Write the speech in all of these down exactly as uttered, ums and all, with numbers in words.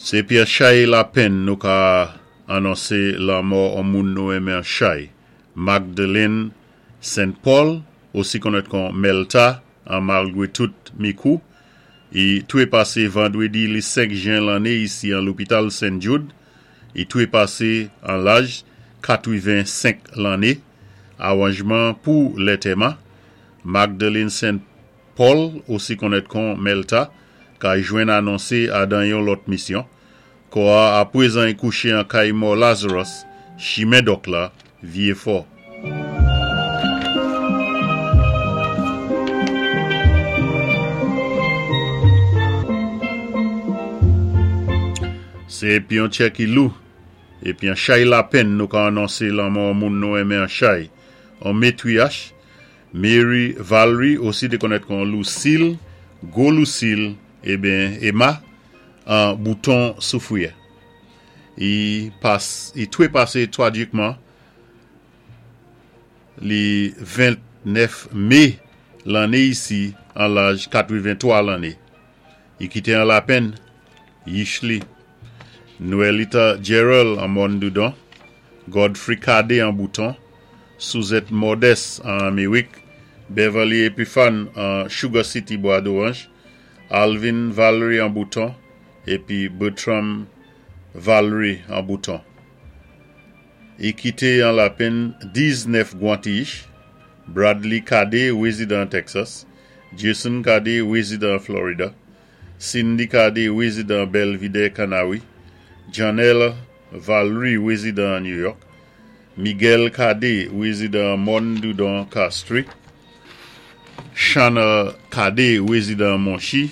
Sé pi an chay lapenn nou ka anonsé lanmò an moun nou enmen an chay. Magdalene Saint Paul, osi konnèt kon Melta, an malgwé tout Micoud, i toué pasé vandwédi li senk jen lanné isi an lopital Saint Jude, i toué pasé an laj katwiven-senk lanné. Awanjman pou lantèman, Magdalene Saint Paul, osi konnèt kon Melta, ka jwenn anonsé adan yon lòt misyon. Kò a apwézan i kouché an kay mò Lazarus, chimen Dòk la, Vyé Fò. Sé pi an tchè ki lou, épi an chay lapenn nou ka anonsé lanmò moun nou enmen an chay. An matriarch, Mary Valerie, osi té konnèt kon Lucille, Gwo Lucille, ébyen Emma, an Bouton Soufwiyè. I pas, i toué pasé twajikman li ventnèf mé lanné isi an laj katwiven-twa lanné. I kité an lapenn, yich li. Noelita Gerald an Morne Dudon, Godfrey Cadet an Bouton, Suzette Modeste an Amiwik, Beverly Epiphane an Sugar City Bois d'Orange, Alvin Valerie an Bouton, épi Bertram Valerie an Bouton. I kité an lapenn diznèf gwan ti yich, Bradley Cadet, wézidan Texas, Jason Cadet, wézidan Florida, Cindy Cadet, wézidan Belvidere Canawi, Janelle Valerie, wézidan New York, Miguel Cadet, wézidan Morne Dudon Castries, Shana Cadet, wézidan Monchy,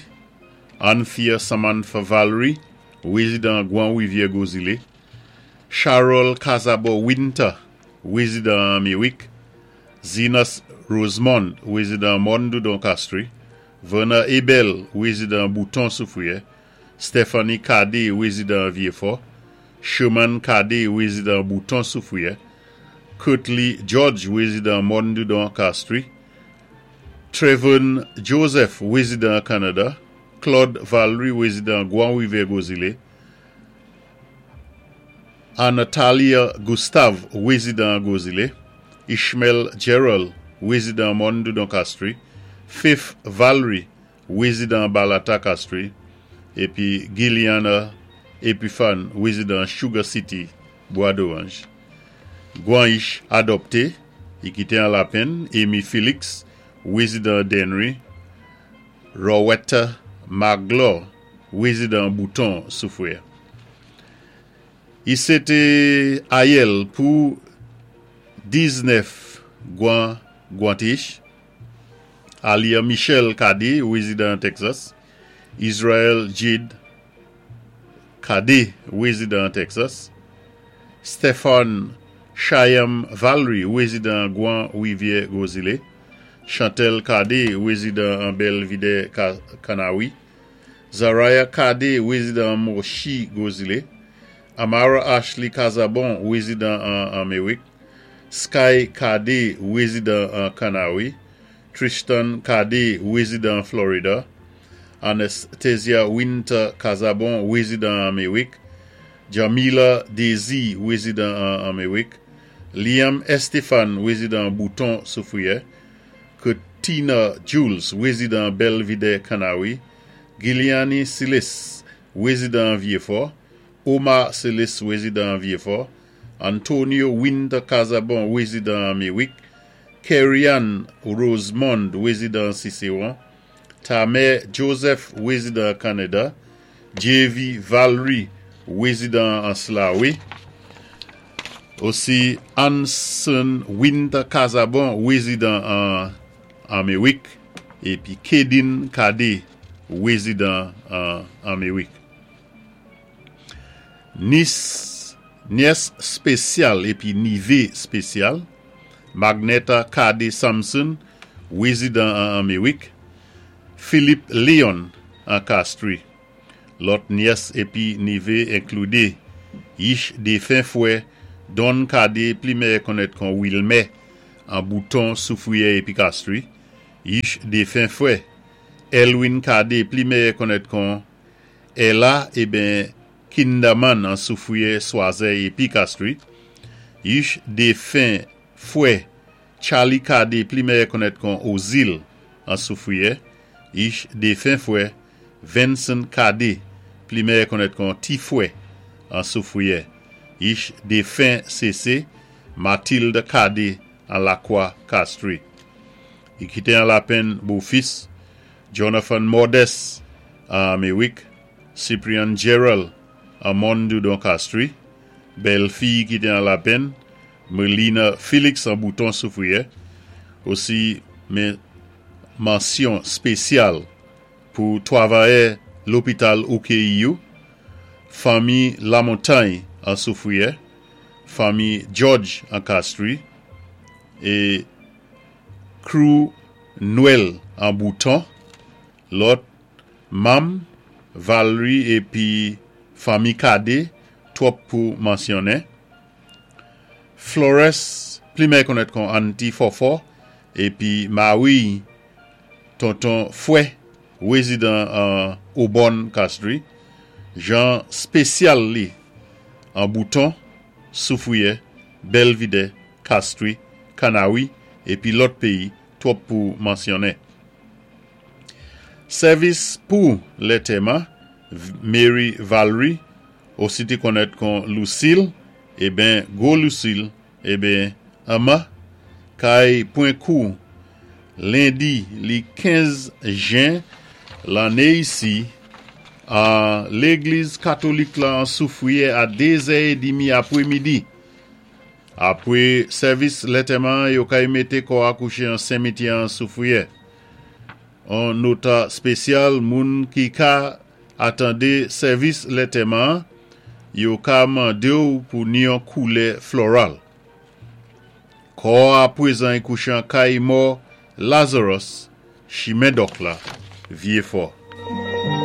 Anthea Samantha Valerie, wézidan Gwan Wivyè Gwozilé, Charles Casabo Winter, wézidan Amiwik, Zenas Rosemond, wézidan Morne Dudon Castries, Verna Ebel, wézidan Bouton Soufwiyè, Stephanie Cadet, wézidan Vyé Fò, Sherman Cadet, wézidan Bouton Soufwiyè, Kurtley George, wézidan Morne Dudon Castries, Trevon Joseph, wézidan Canada, Claude Valerie, wézidan Gwan Wivyè Gwozilé, Anatalia Gustave, wézidan Gwozilé, Ishmael Gerald, wézidan Morne Dudon Castries, Faith Valerie, wézidan Balata Castries, épi Gilliana Epiphane, wézidan Sugar City, Bois d'Orange. Gwan yich adopté, i kité an lapenn, Amy Felix, wézidan Dennery, Rowetta Magloire, wézidan Bouton Soufwiyè. I sé té ayèl pou diznèf gwan gwan ti yich, Alia Michel Cadet, wézidan Texas, Israel Jade Cadet, wézidan Texas, Stefan Chayam Valerie, wézidan Gwan Wivyè Gwozilé, Chantel Cadet, wézidan an Belvidere Canawi, Zaraya Cadet, wézidan Monchy Gwozilé, Amara Ashley Casabon, wézidan an Amiwik, Sky Cadet, wézidan an Canawi, Tristan Cadet, wézidan Florida, Anastasia Winter Casabon, wézidan Amiwik, Jamila Daisy, wézidan an Amiwik, Liam Estefan, wézidan Bouton Soufwiyè, Katina Jules, wézidan Belvidere Canawi, Giliani Silis, wézidan Vyé Fò, Omar Silis, wézidan Vyé Fò, Antonio Winter Casabon, wézidan Amiwik, Kerryann Rosemond, wézidan Cicéron, Tamer Joseph, wézidan Canada, J V Valerie, wézidan Anse La Raye, osi Anson Winter Casabon, wézidan an Amiwik, épi Kedin Cadet, wézidan an Amiwik. Nis, nyès spésyal épi nivé spésyal, Magneta Cadet Samson, wézidan an Amiwik, Philippe Leon an Castries. Lòt nyès épi nivé enkloudé yich défen fwè Don Cadet, pli mèyè konnèt kon Wilmè an Bouton Soufwiyè épi Castries, yich défen fwè Elwin Cadet, pli mèyè konnèt kon Ella, ébyen Kinderman an Soufwiyè, Swazèy épi Kastri. Yich défen fwè Charlie Kadé, pli méyè konnèt kon Ozil an Soufwiyè. Yich défen fwè Vincent Kadé, pli méyè konnèt kon Ti Fwè an Soufwiyè. Yich défen sésé Mathilde Kadé an Lakwa Kastri. I kité an lapenn bofis Jonathan Modeste an Améwik, Cyprian Gerald an Mondoudon Kastri, bèlfi kité an lapenn Melina Félix an Bouton Soufwiyè, osi men mansyon spésyal pou twavayè lopital O K E U, fanmi Lamontay an Soufwiyè, fanmi George an Kastri, é crew Nwèl an Bouton, lòt manm Valerie épi fanmi Kadé, twòp pou mansyonnen. Flores, pli méyè konnèt kon Anti Fòfò, épi Marie Tonton Fouet, wézidan an Aubonne Kastri, jan spésyal li an Bouton, Soufwiyè, Belvidè, Kastri, Kanawi, épi lòt péyi, twòp pou mansyonnen. Sèvis pou lantèman, Mary Valerie, osi té konnèt kon Lucille, eben gwo Lucille, eben Emma, kay pwan kou lendi li kenz jen lanné isi an légliz katolik la an Soufwiyè a dé zè édmi apwé midi. Apwé sèvis lantèman, yo kay mété kò a kouché an simityè an Soufwiyè. An nota spésyal, moun ki ka atandé sèvis lantèman, yo ka mandé ou pou ni an koulè floral. Kò a pwézan kouché an kay mò Lazarus, chimen dòk la, Vyéfò.